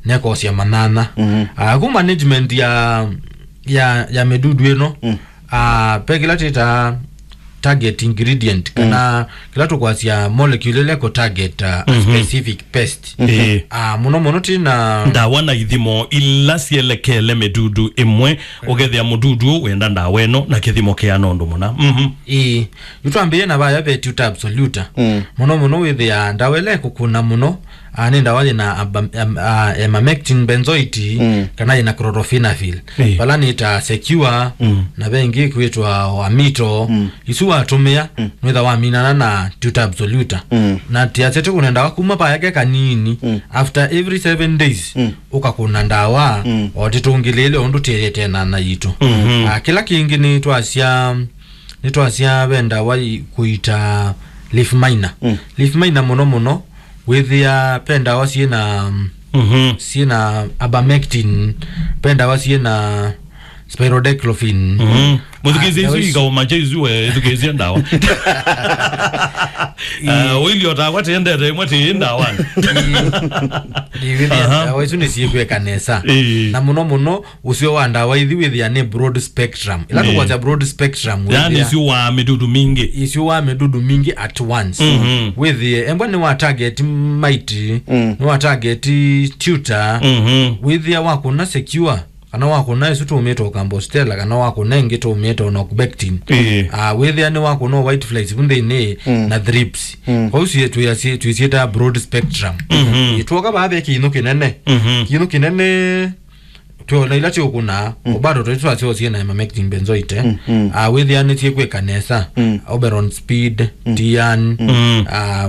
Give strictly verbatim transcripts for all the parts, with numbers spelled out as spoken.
nekosya manyanya. Mhm. Ah, ku management ya, ya, ya mĩdudu ĩno, mm, ah, pe kĩla twĩtaa target ingredient, mm, kana kĩla tũkwasya molecule ĩla ĩkũ target, ah, a, mhm, specific pest. Ĩĩ. Ah, mũno mũno twĩ na ndawa na ithimo ila syelekele mĩdudu ĩmwe, ũkethĩa mũdudu ũũ wenda ndawa ĩno na kĩthimo kĩana ũndũ mũna. Mhm. Ĩĩ. Yu twambĩĩe na vaya ve Tuta Absoluta. Mm. Mũno mũno wĩthĩaa ndawa ĩla ĩkũkũna mũno, ah, nĩ ndawa yĩna aba-, em-, ah, emamectin benzoate, mm, kana yĩna chlorophenafil. Ĩĩ. Vala nĩ ta Secure, mm, na ve ĩngĩ kwĩtwa Amito. Mm. Isu watũmĩa, mm, nwĩtha waminana na Tuta Absoluta. Mm. Na tiasya tũkũne ndawa kuma vaya ke kanini. Mm. After every seven days, mm, ũkakũna ndawa, mm, o tĩtũngĩlĩĩle ũndũ tĩyĩte na na yitũ. Mhm. Ah, kĩla kĩngĩ nĩ twasya, nĩ twasya ve ndawa i-, kũita leaf miner. Mm. Leaf miner mũno mũno, wĩthĩa ve ndawa syĩ na, mhm, syĩ na abamectin, ve ndawa syĩ na spironolactone. Mhm. Mũthukĩĩsye, ah, isu ndawa isu ikaũma kya isu we, ĩthukĩĩsye ndawa. Ah, ũilyo takwa tĩendete ĩmwe tĩ ndawa. Ĩĩ. Ĩĩ, wĩthĩa, aha, ndawa isu nĩsyĩkwĩka nesa. Ĩĩ. Na mũno mũno, ũseo wa ndawa ithi wĩthĩa nĩ broad spectrum. Ĩla, ĩĩ, tũkwasya broad spectrum, yani wĩthĩa isu wa mĩdudu mingĩ. Isu wa mĩdudu mingĩ at once. Mhm. Wĩthĩe, embwa nĩ wa target mite, mm, nĩ wa target tuta. Mhm. Wĩthĩa wakũna Secure, kana wakũna ĩsu tũmĩte o Campostella, kana wakũna ĩngĩ tũmĩte o Nocbectin. Ĩĩ. Ah, wĩthĩa nĩ wakũna o whiteflies vu nthĩnĩ, mm, na thrips. Mm. Kwa ũsu twĩasye-, twĩsyĩta broad spectrum. Mhm. Ĩĩ, tuoka vaa ve kĩinũ kĩnene. Mhm. Kĩinũ kĩnene twĩona ila tiũkũna, mm, o bado twĩ twasyo syĩ na emamectin benzoate. Mm, mm. Ah, wĩthĩa nĩsyĩkwĩka nesa. Mm. Oberon Speed, mm, Tian, mm, ah,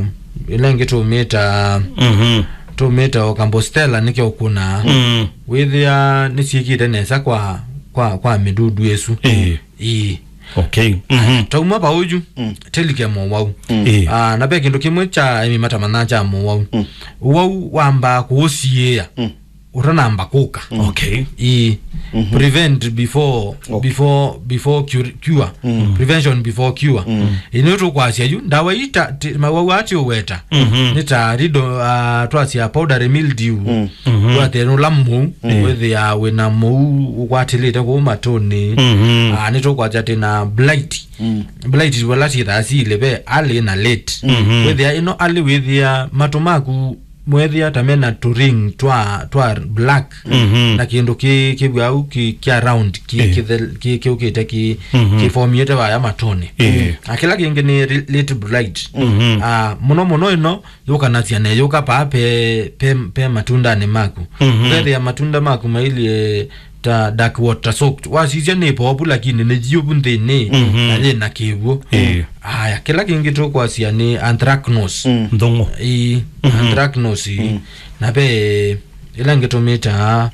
ila ĩngĩ tũmĩta, mhm, tũmĩta o Campostella nĩkyo ũkũna. Mm. Wĩthĩa nĩsyĩkĩte nesa kwa, kwa, kwa mĩdudu ĩsu. Ĩĩ. Ĩĩ. Okay. Mhm. Tauma vau yu, mm, tĩlike mũwau. Mm. Ĩĩ. Ah, na ve kĩndũ kĩmwe kya aĩmi matamanyaa kya mũwau. Mm. Ũwau wambaa kũũsiĩĩa, mm, ũtanamba kũka. Mm. Okay. Ĩĩ. Mhm. Prevent before, okay, before, before cure, cure. Mm. Prevention before cure. Mm. Ĩĩ, nĩ tũkwasya yu, ndawa ii ta, ti, mawau ati ũweta. Mhm. Nĩ ta rido, ah, twasya powdery mildew. Mm. Mhm. Twathe nũla mũu, mm, wĩthĩaa wĩna mũu ũkwatĩlĩte kũu matũnĩ. Mhm. Ah, nĩtũkwasya twĩna blight. Mm. Blight vala syĩthaa syĩlĩ ve early na late. Mhm. Wĩthĩa ĩno early wĩthĩa matũ maku mwethĩa ta mena tũring twa, twa black. Mhm. Na kĩndũ kĩ, kĩw'au kĩ, kya round kĩ, eh, kĩthel-, kĩ, kĩũkĩte kĩ, mhm, kĩfomiĩte vaya matũnĩ. Eh. Na kĩla kĩngĩ nĩ re-, late blight. Mhm. Ah, mũno mũno ĩno yũkanasya neyũka paa pe, pe, pe matundanĩ maku. Mhm. Ũkethĩa matunda maku mailyĩ ta dark water soaked. Wasisya nĩ povu lakini nĩ yĩũvu nthĩnĩ, mhm, na yĩna kĩw'ũ. Ĩĩ. Aya, kĩla kĩngĩ tũkwasya nĩ anthracnose. Mm. Nthũng'ũ. Ĩĩ, mhm, anthracnose ĩĩ. Mm. Na ve ĩla ĩngĩ tũmĩtaa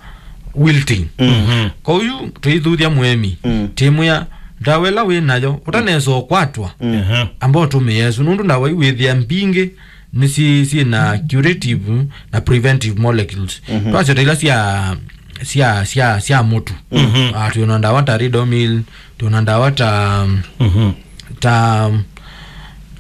wilting. Mhm. Kwoou tũithuthya mũĩmi, mm, tĩmwĩa ndawa ĩla wĩ nayo ũtanesa ũkwatwa, mm, aha, amba ũtũmĩe ĩsu, nũndũ ndawa iu wĩthĩa mbingĩ nĩ syĩ, syĩ na curative na preventive molecules. Mhm. Twasya ta ila sya, sya, sya, sya mũtu. Mhm. Ah, twĩ na ndawa ta Ridomil, twĩ na ndawa ta, mhm, ta,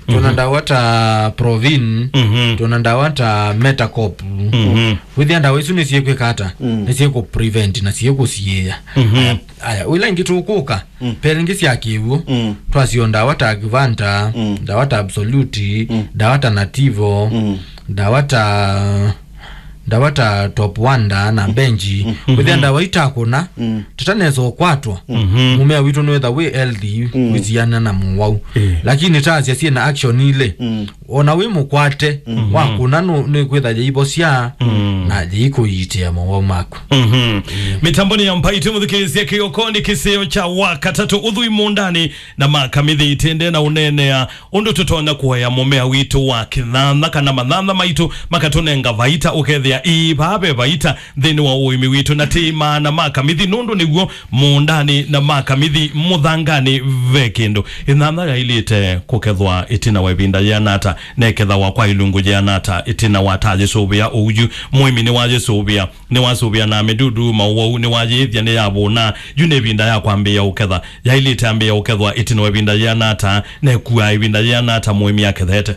twĩ na, mhm, ndawa ta Provin, mhm, twĩ na ndawa ta Metacop. Mhm. Wĩthĩa ndawa isu nĩ syĩkwĩka ata? Mm. Nĩ syĩkũ prevent na syĩkũsiĩĩa. Mhm. Aya, aya, ila ingĩ tũkũka, mm, pe ĩngĩ sya kĩw'ũ, mm, twasyo ndawa ta Agvanta, mm, ndawa ta Absolute, mm, ndawa ta Nativo, mm, ndawa ta, ndawa ta Top Wonder na Benji. Mm. Wĩthĩa ndawa itakũna, mm, tũtanesa ũkwatwa, mhm, mũmea witũ nĩwetha wĩ healthy, mm, wĩsiana na mũwau. Eh. Lakini tasya syĩ na action ilĩ, mm, ona wĩ mũkwate, mhm, wakũna nũ-, nĩkwĩtha yĩivosya, mm, na yĩikũiitĩa mowau maku. Mhm. Mĩtamboni ya Mbaitũ mũthikĩĩsya kĩokonĩ kĩseo kya wakatatũ ũthui mũũndanĩ na makamithi itende na ũneenea ũndũ tũtonya kũea mũmea witũ wa kĩthantha kana mathantha maitũ makatũnenga vaita ũkethĩa ii vaa ve vaita nthĩnĩ wa ũĩmi witũ na tĩ maana makamithi nũndũ nĩw'o mũũndanĩ na makamithi mũthanganĩ ve kĩndũ. Ĩthantha yaĩlĩte kũkethwa ĩtina wa ĩvinda yĩana ata, na ĩkethawa kwa ilungu yĩana ata ĩtina wa ta yĩsũvĩa ũu yu? Mũĩmi nĩwayĩsũvĩa, nĩwasũvĩa na mĩdudu, maũwau, nĩwayĩĩthya nĩyavũna. Yu nĩ ĩvinda ya kwambĩĩa ũketha. Yaĩlĩte ambĩĩa ũkethwa ĩtina wa ĩvinda yĩana ata, na ĩkuaa ĩvinda yĩana ata mũĩmi akethete?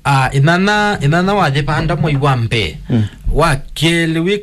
Ah, ĩnana, ĩnana wayĩvanda mwei wa mbee. Mm. Wa kelĩ wĩka